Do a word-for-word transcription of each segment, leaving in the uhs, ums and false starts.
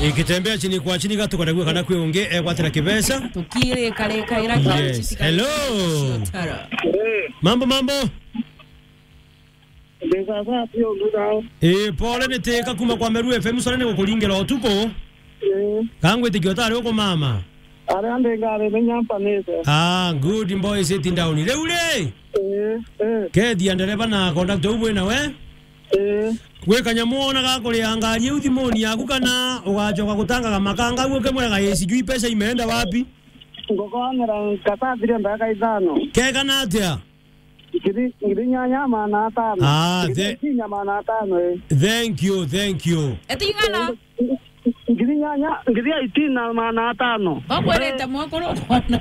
Ikitembea chini kwa chini, gatukwenda gwika kana kwi ungi egwatira kibeca. Tukiri kare kaira. Yes. Hello. Mambo, mambo. Ndikaza pio ndurao. Eh, pole, ni Teka kuma kwa Meru F M, sore ni gukuringira utuku. Eh. Kangwitikia utari ukumama. Aria ndi ngari ni nyampanite. Ah, good boy, sitting down. Riu ri? Eh, eh. Kethia ndereba na conductor u bwina we? Eh. Gwi kanyamu wona ga kuria ngari iu thimuni yaku, kana ugacoka gutangaga makanga u ukimwiraga, "Ii, sijui pesa imeenda wapi?" Ngukonera nkatathire ndagika ithano. Kekana atia? Ngiri, ngiri inyanya magana atano. Ah, ngiri the- inyanya magana atano, eh. Thank you, thank you. Etigana. Ngiri inyanya, ngiri eighteen na magana atano. Bakwirite mwakuru kwana.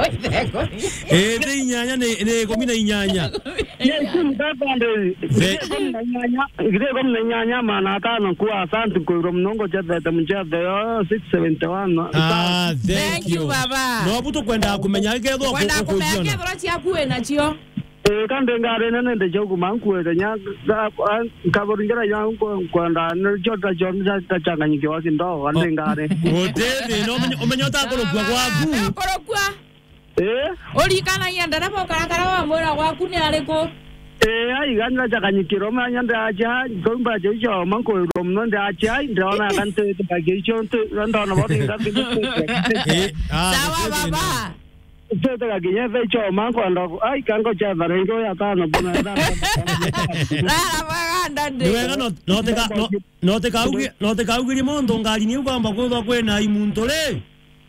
Oitheko. Eh, the inyanya ni, ni ikumi na inyanya. Yes, mtata ndio. The- Ngiri ikumi na inyanya, ngiri ikumi na inyanya magana atano kwa asante kwa uro mnongo chethete mchethe yo six seventy one. Ah, thank you. Thank you, baba. No, butu kwenda kumenya kethwa. Kwenda ku-, kumenya kujiona. Kethwa ciaku wina cio. Eh, kandi ngari nene ndi chauku mankuete nya, ga-, a-, nkaboringira nya nko-, nkwenda ni chota chon cha, cha changanyikiwa kidogo, kandi ngari. Gutiri, no umenye, umenye utakurukua gwaku. Kurukua. Eh? Urikanagia ndereba ukarakara wa mwira gwaku ni ariku? Eh, ai, gani na chakanyikiro manya ndacha, komba cho cho manko ro mno ndacha, ndona kante ta gecho nte, ndona bori ngapi. Eh, ah, sawa, baba. Tete gakinya thaa ichoma nkwenda ku-, ai, kango cha tharengo ya tano, buna thaa. Rara baganda ndi. Ni wega no, no teka, no, no teka ugi-, no teka ugiri muntu ngari ni ugamba kwithwa kwina imuntu ri?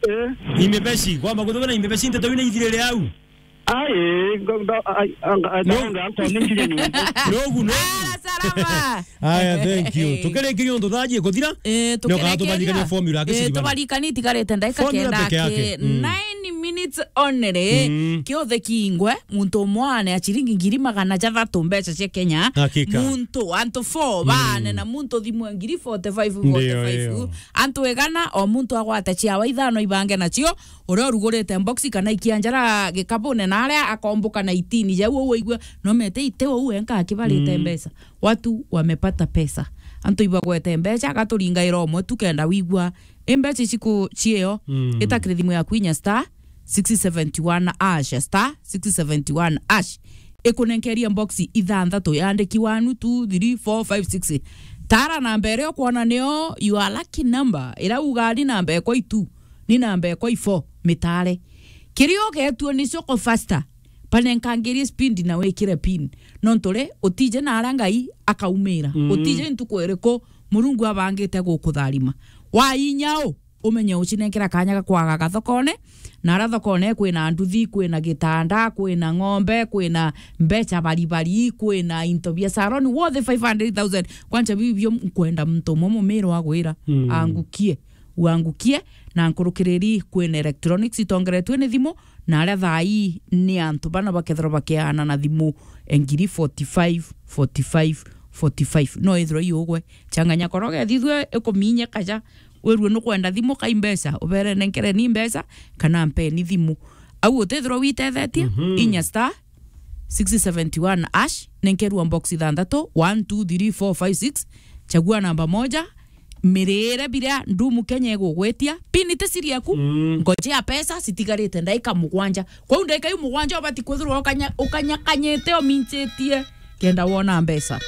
Eh. Imebeci, kwamba kwithwa kwina imebeci nteto ina ithirire au. Ai, ngo-, ndo-, ai, anga, ai, no. Anga, anko ni ngiri ni. Nogu, nogu. Ah, salama. Aya, thank you. Eh. Tukirikiria untu thaa jie kuthira. Eh, nioka tukirikiria. Tubarikanie formula yake. Eh, siribana. Tubarikanie itigarite ndagika formula kenda peke yake. Ki-, mm, nine minutes only. Mm. Kiothe kingwe, muntu umwe ane a ciringi ngiri magana jathatu mbeca cia Kenya. Hakika. Muntu, antu four, mm, baane na muntu thimu ya ngiri forty-five, ndio, forty-five. Ndio. Antu igana, o muntu agwate ciawa ithano ibange nacio, uria urugurite mboxi kana ikianjara gikabune, na aria akomboka na itini jau, uu waigua, no mete ite uu enka akibarite, mm, mbeca. Watu wamepata pesa. Antu ibagwete mbeca, agaturingaira umwe tu kenda wigua. I mbeca ici ku cieo, mm, itakire thimu yaku inya star six seventy one hash, star six seventy one hash. Ikunenkeria mboxi ithanthatu, yandiki one, two, three, four, five, six. Tara namba iria ukwona nio your lucky number, iria uga ni namba ekwa itu, ni namba ekwa ifo, mitare. Kiria ugetua nicio ko faster, banenkangirie speed na wikire pin. Nontu ri, utije na aria Ngai akaumira. Mm. Utije ntuku iriku Murungu abangite gukutharima. Wa inya u, umenye ucinenkera kanya ga kwagaga thokone, na aria thokone kwina nduthi, kwina gitanda, kwina ng'ombe, kwina mbeca baribari, kwina into bia salon, worth five hundred thousand. Kwanza bibio nkwenda muntu umwe mumiro agwira, mm, angukie, uangukie, na nkurukiriri kwina electronics itongeretue ni thimu, na aria thaa ii ni antu bana bakethirwa bakiaana na thimu, e, ngiri forty-five, forty-five, forty-five. No ithirwa iugwe, changanya koroge thithwe ikuminye kaja, wirue nukwenda thimu kai mbeca, ubere nenkere ni mbeca, kana mpeni thimu. Au utithirwa witethetie, mhm, inya star six seventy one hash, nenkerua box ithanthatu, one, two, three, four, five, six, chagua namba moja, mirire biria ndumu Kenya igugwitia, pin ti siri yaku, mm, ngoje ya pesa citigarite ndaika mugwanja. Kwou ndaika iu mugwanja ubati kwithirwa ukanya-, ukanyakanyite uminchitie kenda wona mbeca.